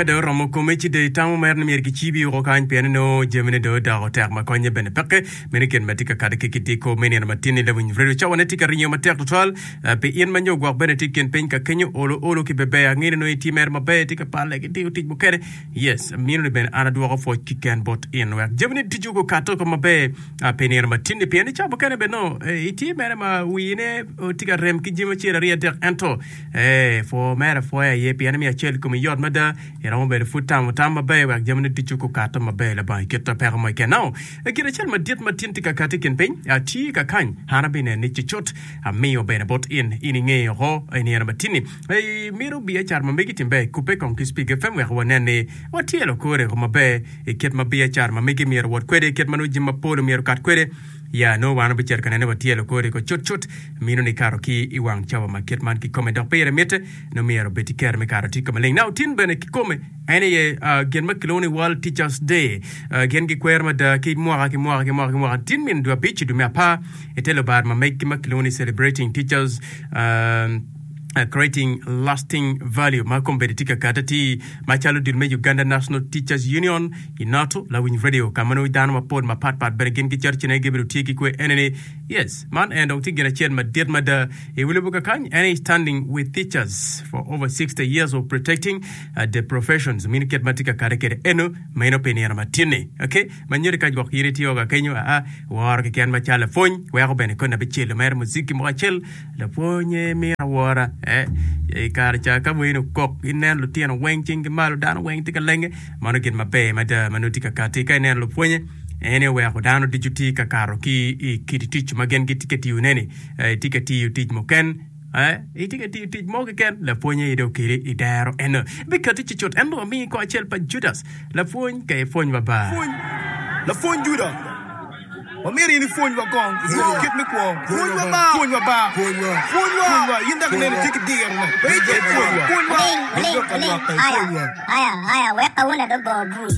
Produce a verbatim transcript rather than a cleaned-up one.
Ka dong oromo kome ci dong itamo mere ni myero kicibi woko kany pien nongo jamine dong odoko tek ma konye bene peke. Meno gin ma tye ka kati ki kidiko me nino matin-ni lawiny redio cawane tye ka ringo matek tutwal eh, pi in ma nyo gwok bene tye i kin piny ka kenyo olo olo ki beber angeyo ni nongo itye mere maber itye ka pale ki tiyo tic mukene yes mino ni bene an adwoko pwoc kiken bot in wek jamine ducu gukato ko maber ah, pi nino matin-ni pien ni ca mukene bene nongo eh, itye mere ma wine oh, tye ka rem ki jami acel aryo adek ento eh, pwo mere apwoya aye pien ni miyo acel komi yot mada iromo bedo pud tamo tam maber wek jamine ducu gukato maber labongo kit peko mo keken. Now, gin acel madit ma tin tye ka kati i kin piny ah, tye ka kany an abineno ni cucut amiyo bene bot in in ingeyo oko i nino matin-ni Eh, mito biacara ma megi tim ber kubbe kong ki Speak FM wek wanen ni watyelo kore ko maber i kit ma biacara ma megi myero wot kwede kit ma nongo jami mapol myero kat kwede ya nongo wan wabicito ka nene watyelo kore ko cut cut mino ni kato ki i wang cawa ma kit man kikome dok pire mitte nongo myero obed ki kero me kato tye ka maleng. Now tin bene kikome en aye uh, gin ma kilwongo ni World Teachers Day uh, gin gikwero mada ki mwaka ki mwaka ki mwaka ki mwaka tin min dwe abic dwe me apar i te lubar ma megi ma kilwongo ni celebrating teachers um, uh, creating lasting value ma kombeddi tye ka kati ti macalo dul me Uganda National Teachers Union UNATU lawiny radio ka ma nongo dano mapol mapatpat bene gin gicito cene gibedo tye ki kwe ene ni yes man en dong tye gin acel madit mada i wi lobo kakany en aye standing with teachers for over sixty years of protecting uh, the professions mino kit ma tye ka kati kwede eno meno pi nino matin-ni okay ma nyuto ka gwok in itye ka kenyo aa woro keken macalo lapwony weko bene koni abicelo mere muziki moko acel lapwonye mito awora eh i kare ca ka weni okok ineno lutino weng cinggi malo dano weng tye ka lenge mano gin maber mada ma nongo tye ka kati ka ineno lupwonye en oweko dano ducu tye ka kato ki i kit tic ma gin gitye ka tiyone-ni eh, itye ka tiyo tic muken eh, itye ka tiyo tic mo keken lapwonye ide okeli i dero eno bikati cucut en dong amiyi ko acel pa Judas lapwony ka ipwony ba Pwony, lapwony Juda, wamito in ipwonywa kong i lok kit me kwo. Pwonywa ba. Pwonywa ba. Pwonywa. Pwonywa. Pwonywa. In dok ineno itye ki dirone. Pe Pwonywa. Pwonywa. Oling, oling, oling. Aya, aya, aya, wek kawuono dong go bul.